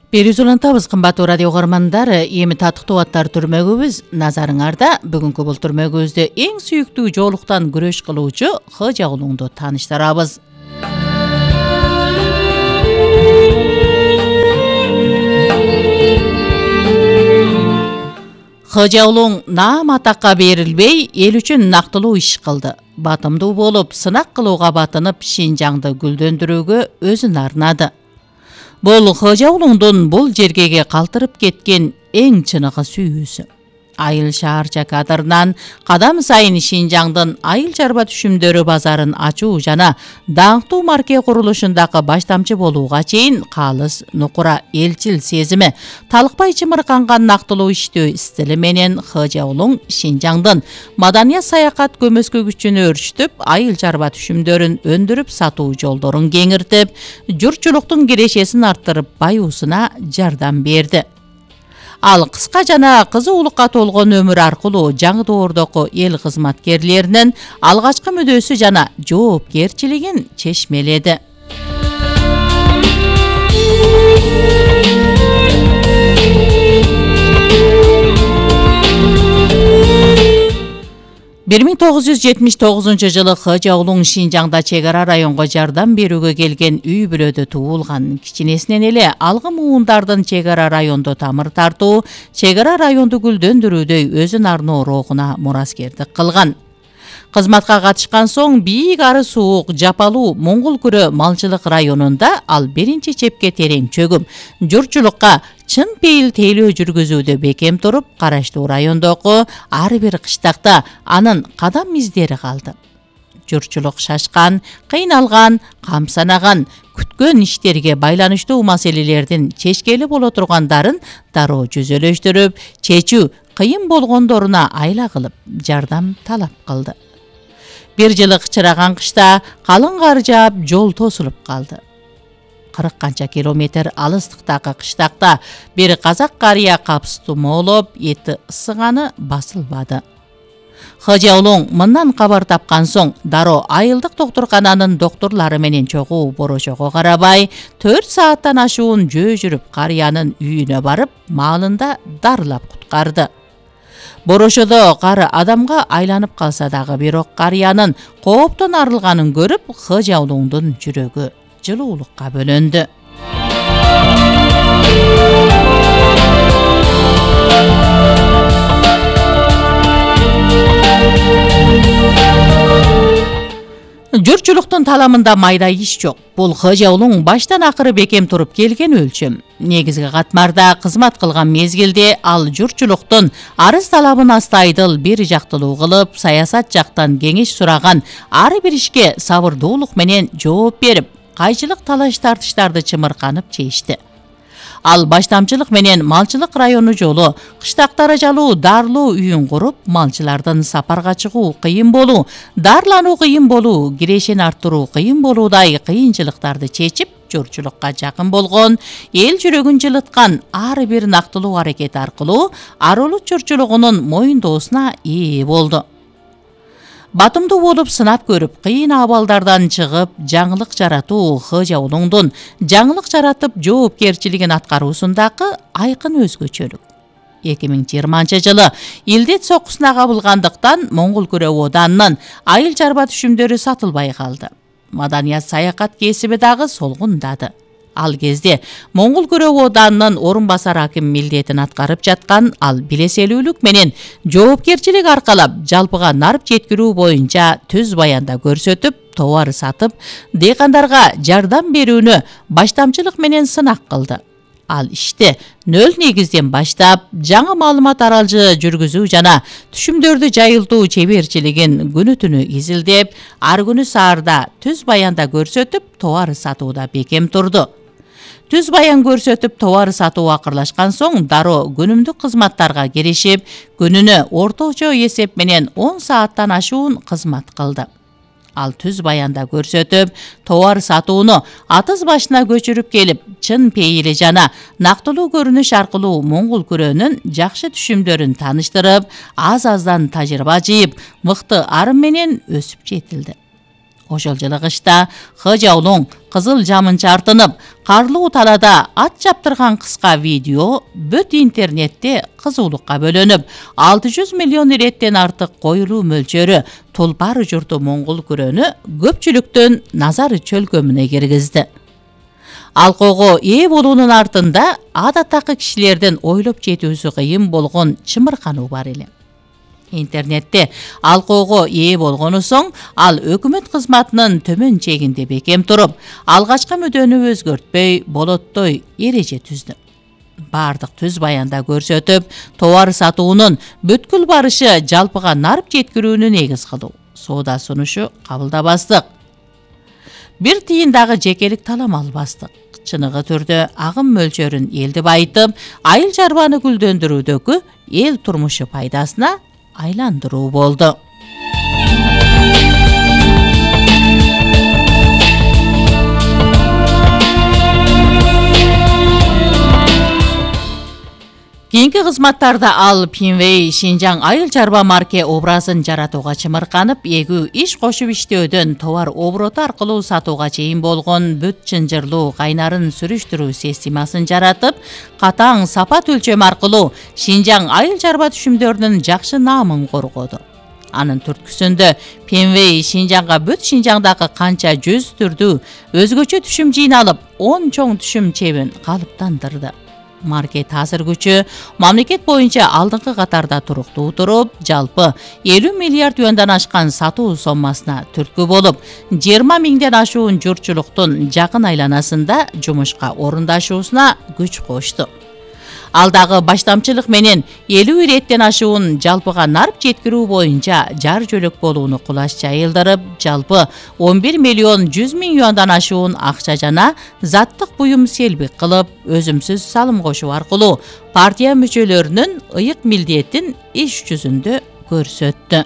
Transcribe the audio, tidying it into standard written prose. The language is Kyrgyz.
Берүүs улантабыз, кымбаттуу радио угармандар. Эми татыктуу аттар түрмөгүбүз назарыңарда. Бүгүнкү бул түрмөгүбүздө эң сүйүктүү жоолуктан күрөш кылуучу Кыжа Улуңду тааныштырабыз. Кыжа Улуң наам атакка берилбей, эл үчүн нактылуу иш кылды. Батымдуу болуп, сынак кылууга батынып, Шинжаңды гүлдөндүрүүгө өзүн арнады. Бул Кыжа Улуңдун бул жергеге калтырып кеткен эң чыныгы сүйүүсү. Айыл шаарча кадрынан кадам сайын Шинжаңдын айыл чарба түшүмдөрү базарын ачуу жана даңктуу марке курулушундагы баштамчы болууга чейин калыс нукура элчил сезими, талыкпай чымырканган нактылуу иштөө стили менен Кыжа Улуң Шинжаңдын маданият саякат көмөскө күчүн өрчүтүп, айыл чарба түшүмдөрүн өндүрүп сатуу жолдорун кеңиртип, журтчулуктун кирешесин арттырып, баюусуна жардам берди. Ал кыска жана кызуулукка толгон өмүр аркылуу жаңы доордогу эл кызматкерлеринин алгачкы мүдөөсү жана жоопкерчилигин чечмеледи. Бир 1979 жылы Кыжа Улуң Шинжаңда чек ара районго жардам берүүгө келген үй бүлөдө туулган. Кичинесинен эле алгы муундардын чек ара райондо тамыр тартуу, чек ара районду гүлдөндүрүүдөй өзүн арноо рухуна мураскердик кылган. Кызматка катышкан соң бийик ары суук, жапалуу Моңгол күрө малчылык районунда ал биринчи чепке терең чөгүм, журтчулукка чын пейил тейлөө жүргүзүүдө бекем туруп, караштуу райондогу ар бир кыштакта анын кадам издери калды. Журтчулук шашкан, кыйналган, камсанаган, күткөн иштерге байланыштуу маселелердин чечкели боло тургандарын дароо жүзөлөштүрүп, чечүү кыйын болгондоруна айла кылып, жардам талап кылды. Бир жылык чыраган кышта калың кар жаап, жол тосулуп калды. 40 канча километр алыстыктагы кыштакта бир казак карыя капс тумоолоп, эти ысыганы басылбады. Кыжа Улуң мындан кабар тапкан соң дароо айылдык доктуркананын докторлору менен чогуу борошого карабай, 4 сааттан ашуун жөө жүрүп карыянын үйүнө барып, маалында дарылап куткарды. Борошодо кары адамга айланып калса дагы, бирок карыянын кооптон арылганын көрүп, Кыжа Улуңдун жүрөгү жылуулукка бөлөндү. Журтчулуктун таламында майда иш жок. Бул Кыжа Улуң баштан акыры бекем туруп келген өлчөм. Негизги катмарда кызмат кылган мезгилде ал журтчулуктун арыз талабын астайдыл, бир жактылуу кылып, саясат жактан кеңеш сураган ар бир ишке сабырдуулук менен жооп берип, кайчылык талаш тартыштарды чымырканып чечти. Ал баштамчылык менен малчылык району жолу, кыштактары жалуу дарылоо үйүн куруп, малчылардын сапарга чыгуу кыйын болуу, дарылануу кыйын болуу, кирешени арттыруу кыйын болуудай кыйынчылыктарды чечип, журтчулукка жакын болгон, эл жүрөгүн жылыткан ар бир нактылуу аракет аркылуу арулут журтчулугунун моюндоосуна ээ болду. Батымдуу болуп сынап көрүп, кыйын абалдардан чыгып, жаңылык жаратуу Кыжа Улуңдун жаңылык жаратып жоопкерчилигин аткаруусундагы айкын өзгөчөлүк. 2020 жылы илдет сокусуна кабылгандыктан Моңгол күрө оданынын айыл чарба түшүмдөрү сатылбай калды. Маданият саякат кесиби дагы солгундады. Ал кезде Моңгол күрө оданынын орун басар аким милдетин аткарып жаткан ал билеселүүлүк менен жоопкерчилик аркалап, жалпыга нарп жеткирүү боюнча түз баянда көрсөтүп, товар сатып, дыйкандарга жардам берүүнү баштамчылык менен сынак кылды. Ал ишти нөл негизден баштап, жаңы маалымат аралжы жүргүзүү жана түшүмдөрдү жайылтуу чеберчилигин күнү түнү изилдеп, ар күнү саарда түз баянда көрсөтүп, товар сатууда бекем турду. Түз баян көрсөтүп, товар сатуу акырлашкан соң дароо күнүмдүк кызматтарга киришип, күнүнө орточо эсеп менен 10 сааттан ашуун кызмат кылды. Ал түз баянда көрсөтүп, товар сатууну атыз башына көчүрүп келип, чын пейили жана нактылуу көрүнүш аркылуу Моңгол күрөнүн жакшы түшүмдөрүн тааныштырып, аз-аздан тажрыйба жыйып, мыкты арым менен өсүп жетилди. Ошол жылы кышта Х жаулуң кызыл жамын чартынып, карлуу талаада ат чаптырган кыска видео бүт интернетте кызуулукка бөлөнүп, 600 миллион иреттен артык коюлуу мөлчөрү Тулпар журту моңгол күрөнү көпчүлүктүн назары чөлкөмүнө киргизди. Алкоого ээ болуунун артында адаттагы кишилердин ойлоп жетүүсү кыйын болгон чымыркануу бар эле. Интернетте алкоого ээ болгону соң ал өкмөт кызматынын төмөн чегинде бекем туруп, алгачкы мүдөнү өзгөртпөй, болоттой эреже түздү. Бардык түз баянда көрсөтүп, товар сатуунун бүткүл барышы жалпыга нарып жеткирүүнү негиз кылуу, соода сунушу кабылдабастык. Бир тыйын дагы жекелик талам албастык. Чыныгы түрдө агым мөлчөрүн элди байытып, айыл чарбаны гүлдөндүрүүдөгү эл турмушу пайдасына айландыруу болду. Кийинки кызматтарда ал Пинвей Шинжаң айыл чарба марке образын жаратууга чымырканып, эгүү иш кошуп иштөөдөн товар обороту аркылуу сатууга чейин болгон бүт чынжырлуу кайнарын сүрүштүрүү системасын жаратып, катаң сапат өлчөм аркылуу Шинжаң айыл чарба түшүмдөрүнүн жакшы наамын коргоду. Анын түрткүсүндө Пинвей Шинжаңга бүт Шинжаңдагы канча жүз түрдүү өзгөчө түшүм жыйналып, 10 чоң түшүм чебин калыптандырды. Маркет азыр күчү мамлекет боюнча алдыңкы катарда туруктуу туруп, жалпы 50 миллиард юандан ашкан сатуу соммасына түрткү болуп, 20 миңден ашуун журтчулуктун жакын айланасында жумушка орундашуусуна күч кошту. Ал дагы баштамчылык менен 50 иреттен ашуун жалпыга нарып жеткирүү боюнча жар жөлөк болууну кулаш жайылдырып, жалпы 11 миллион 100 миң юандан ашуун акча жана заттык буюм селбик кылып, өзүмсүз салым кошуу аркылуу партия мүчөлөрүнүн ыйык милдетин иш жүзүндө көрсөттү.